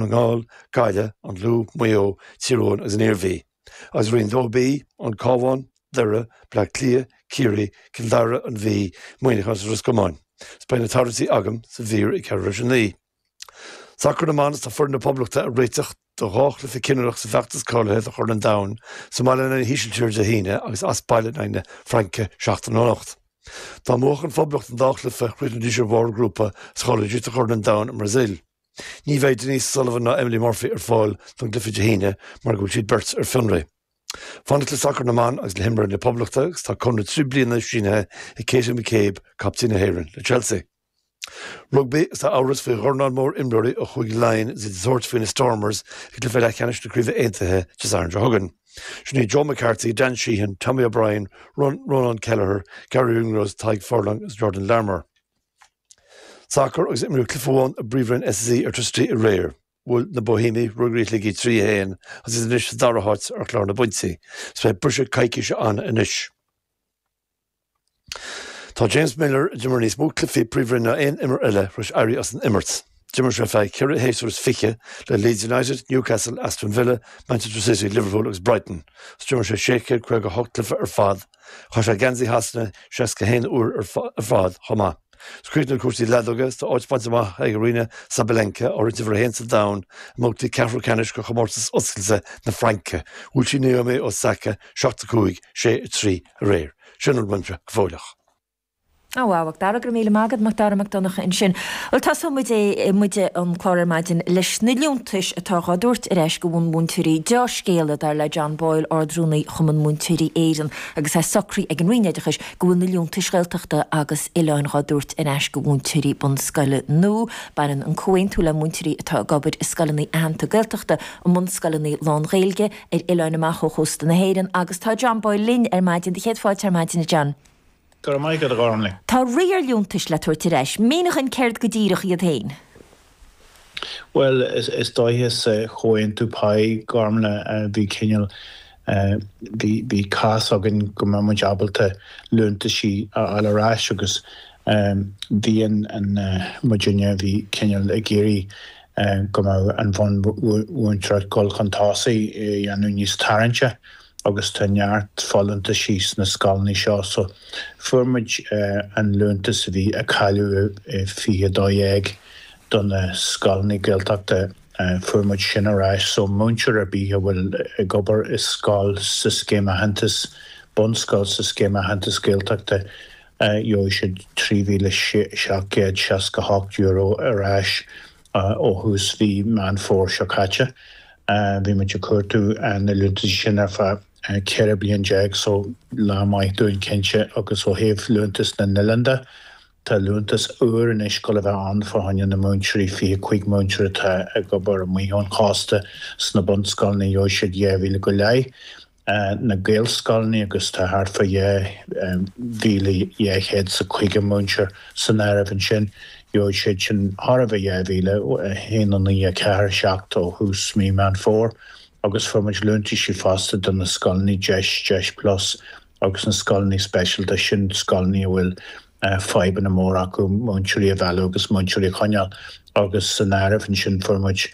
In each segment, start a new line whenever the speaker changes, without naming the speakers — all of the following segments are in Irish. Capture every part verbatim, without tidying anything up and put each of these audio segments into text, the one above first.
na nGall, Gaillimh, an Lú, Maigh Eo, Tír Eoghain agus an Iarmhí. Agus Roinn dó B, an Cabhán, Doire, Bleá Cliath, Ciarraí, Cill Dara, an Mhí, Muineachán agus Ros Comáin. Is beidh na tarraingtí agam sa mhír ag ceathrú tar éis a naoi. Sacar na mban is tá foireann na Poblachta ag réiteach do dhá chluiche cinniúnach sa bhfeachtas cáilithe do Chorn an Domhain sa mbaile in aghaidh na hÍsiltíre Dé hAoine agus as baile in aghaidh na Fraince seachtain ó anocht. Dá mbuafadh an Phoblacht an dá chluiche chríochnóidís ar bharr a ngrúpa is cháileoidís do Chorn an Domhain i mBrasaíl. Ní bheidh Denise Sullivan ná Emily Murphy ar fáil don gcluiche Dé hAoine mar go bhfuil siad beirt ar fionraí. Fanacht le sacar na mban agus le himreoirí na Poblachta agus tá conradh trí bliana sínithe ag Katie McCabe, captaen na hÉireann, le Chelsea. Rugbaí is tá amhras faoi dhornán mór imreoirí ó Chúige Laighean is iad ag tabhairt faoi na Stormers i gcluiche leathcheannais na Craoibhe Aontaithe Dé Sathairn seo chugainn. Sin iad Joe McCarthy, Dan Sheehan, Tommy O'Brien, Rónán Kelleher, Garry Ringrose, Tadhg Furlong agus Jordan Larmour. Sacar agus imríodh cluiche amháin i bPríomhroinn SSE Airtricity aréir. Bhuail na Boihéamaigh Ruagairí Shligigh trí a haon agus iad anois sa dara háit ar chlár na bpointí. Is beidh briseadh coicíse ann anois. Tá James Milner, a d'imir níos mó cluichí Príomhroinne ná aon imreoir eile, tar éis éirí as an imirt. D'imir sé feadh ceithre shéasúr is fiche le Leeds United, Newcastle, Aston Villa, Manchester City, Liverpool agus Brighton. Agus d'imir sé sé chéad caoga a hocht cluiche ar fad. Chaith sé geansaí Shasana seasca a haon uair ar fad chomh maith. Is críochnaíodh cúrsaí leadóige is tá áit bainte amach ag Aryna Sabalenka, á roinnt uimhir a haon sa domhan, i mbabhtaí ceathrú ceannais de chomórtas oscailte na Fraince. Bhuail sí Naomi Osaka seacht a cúig, sé a trí aréir. Sin a bhfuil uaimse go fóilleach.
Ó wow, a Mhac Dara, go raibh míle maith agat, Mac Dara Mac Donncha ansin. Bhuel, tosóidh muid é, muide an clár ar maidin leis na liúntais atá dhá dtabhairt ar ais go bhunmhúinteoirí. Deá-scéala, dar le John Boyle, Ard-Rúnaí Chumann Múinteoirí Éireann, agus é socraithe ag an Roinn Oideachais go bhfuil na liúntais Ghaeltachta agus Oileáin dhá dtabhairt ar ais go mhúinteoirí bunscoile nua. Baineann an comhaontú le múinteoirí atá ag obair i scoileanna aitheanta Gaeltachta, i mbunscoileanna lán-Ghaeilge ar oileáin amach ó chósta na hÉireann agus tá John Boyle linn ar maidin. Do chéad fáilte ar maidin, a John.
Go raibh maith agat, a Ghormlaith.
Tá rith ar liúntais le tabhairt ar ais. Mínigh dúinn céard go díreach iad féin.
Bhuel, is dóiche sa chomhaontú pá, Gormlaith, bhí cineál, bhí, bhí cás againn go mbeadh muid ábalta liúntaisí a fháil ar ais agus bhí an, an, muidinne, bhí cineál ag iarraidh go mbeadh an bhunmhúinteoireacht dul chun tosaigh a dhéanamh níos tarraingte. Agus tá neart folúntaisí sna scoileanna seo so fuair muid an liúntas a bhí a cailleadh i fiche dó dhéag do na scoileanna Gaeltachta, fuair muid sin ar ais. So múinteoir ar bith a bhfuil ag obair i scoil sa Scéim Aitheantais, bunscoil sa Scéim Aitheantais Gaeltachta, gheobhaidh siad trí mhíle seacht gcéad seasca hocht euro ar ais ó thús mhí Meán Fómhair seo caite. Bhí muid ag cuartú na liúntaisí sin ar feadh ceithre bliain déag so lá maith dúinn cinnte agus ó thaobh liúntas na n-oileán de, tá liúntas úr anois ag dul a bheith ann fá choinne na múinteoirí, fiche cúig múinteoir atá ag obair amuigh ón chósta sna bunscoileanna, gheobhaidh siad dhá mhíle go leith. Na Gaelscoileanna agus tá thart fá dhá mhíle dhá chéad is caoga múinteoir san áireamh ansin. Gheobhaidh siad sin thar a bheith dhá mhíle, a haon a naoi a ceathair seacht ó thús mí Meán Fómhair agus fuair muid liúntaisí fosta do na scoileanna Deis, Deis Plus agus na scoileanna speisialta, sin scoileanna a bhfuil fadhbanna móra acu múinteoirí a mhealladh agus múinteoirí a choinneáil agus san áireamh ansin fuair muid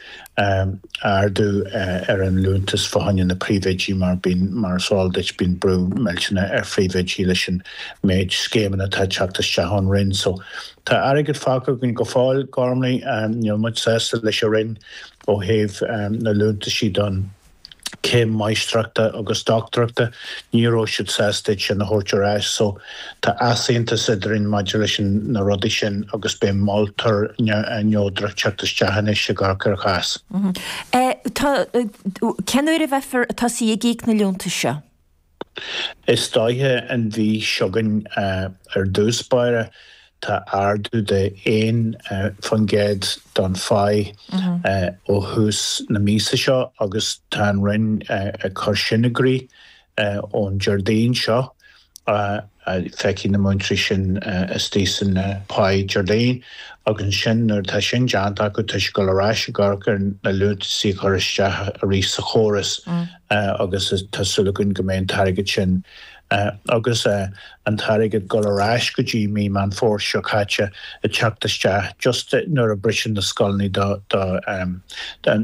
ardú ar an liúntas fá choinne na príomhoidí mar bíonn, mar is eol duit, bíonn brú millteanach ar phríomhoidí leis an méid scéimeanna atá ag teacht isteach ón Roinn. So tá airgead fágtha againn go fóill, Gormlaith, níl muid sásta leis an Roinn ó thaobh na liúntaisí don céim máistreachta agus dochtúireachta, ní raibh siad sásta iad sin a thabhairt ar ais. So tá easaontas eadrainn maidir leis na rudaí sin agus beidh moltóir neodrach teacht isteach anois ag amharc ar an chás.
Tá, cén uair a bheifear ag tosaí ag íoc na liúntais seo?
Is dóiche an mhí seo chugainn ar dtús báire. Tá ardú de aon faoin gcéad don pháigh ó thús na míosa seo agus tá an Roinn ag cur sin i gcrích ón Déardaoin seo Feicfidh na múinteoirí sin istigh san pá Déardaoin agus ansin nuair atá sin déanta acu tá siad ag dul ar ais ag amharc ar na liúntaisí a chur isteach arís sa chóras agus tá súil againn go mbeidh an t-airgead sin agus an t-airgead ag dul ar ais go dtí mí Meán Fómhair seo caite ag teacht isteach just nuair a briseann na scoileanna do do